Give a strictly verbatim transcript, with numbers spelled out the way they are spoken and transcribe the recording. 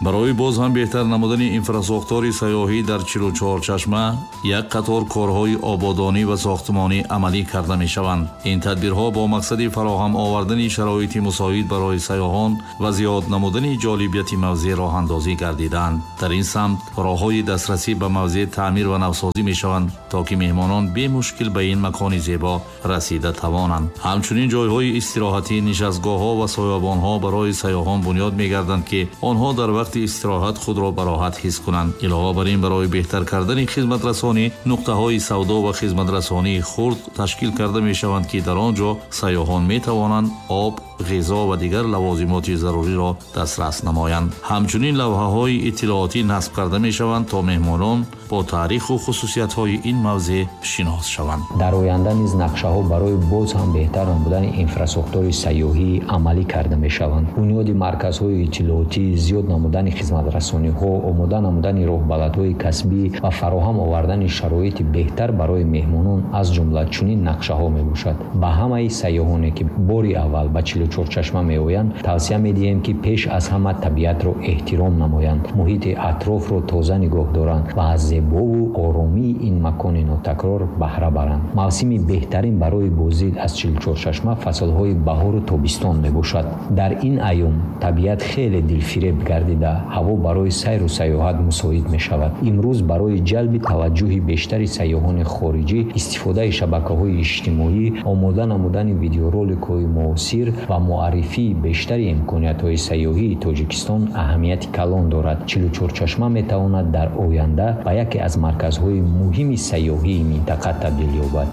Барои боз ҳам беҳтар намудани инфрасохтори сайёҳӣ дар чилу чор чашма як қатор корҳои ободонӣ ва сохтмонӣ амалӣ карда мешаванд. Ин тадбирҳо бо мақсади фароҳам овардани шароити мусоид барои сайёҳон ва зиёд намудани ҷолибияти мавзеъ роҳандозӣ гардиданд. Дар ин самт роҳҳои дастрасӣ ба мавзеъ таъмир ва навсозӣ мешаванд, то ки меҳмонон бемушкил ба ин макони зебо расида тавонанд. Ҳамчунин ҷойҳои истироҳатӣ, нишастгоҳҳо ва соябонҳо барои сайёҳон бунёд мегарданд, ки онҳо дар вақти истироҳат худро бароҳат ҳис кунанд. Илова бар ин, барои беҳтар кардани хизматрасонӣ нуқтаҳои савдо ва хизматрасонии хурд ташкил карда мешаванд, ки дар он ҷо сайёҳон метавонанд об, ғизо ва дигар лавозимоти заруриро дастрас намоянд. Ҳамчунин лавҳаҳои иттилоотӣ насб карда мешаванд, то меҳмонон бо таъриху хусусиятҳои ин мавзеъ шинос шаванд. Дар оянда низ нақшаҳо барои боз ҳам беҳтар намудани инфрасохтори сайёҳӣ амалӣ карда мешаванд. Бунёди марказҳои иттилоотӣ, зиёд намудани хизматрасониҳо, омода намудани роҳбаладҳои касбӣ ва фароҳам овардани шароити беҳтар барои меҳмонон аз ҷумла чунин нақшаҳо мебошад. Ба ҳамаи сайёҳоне, ки бори аввал ба чилу чор чашма меоянд, тавсия медиҳем, ки пеш аз ҳама табиатро эҳтиром намоянд, муҳити атрофро тоза нигоҳ доранд ва аз зебову оромии ин макони нотакрор баҳра баранд. Мавсими беҳтарин барои боздид аз чилу чор чашма фаслҳои баҳору тобистон мебошад. Дар ин айём табиат хеле дилфиреб гардида, ҳаво барои сайру сайёҳат мусоид мешавад. Имрӯз барои ҷалби таваҷҷӯҳи бештари сайёҳони хориҷӣ истифодаи шабакаҳои иҷтимоӣ, омода намудани видеороликҳои муосир ва муаррифии бештари имкониятҳои сайёҳии Тоҷикистон аҳамияти калон дорад. Чилу чор чашма метавонад дар оянда ба яке аз марказҳои муҳими сайёҳии минтақа табдил ёбад.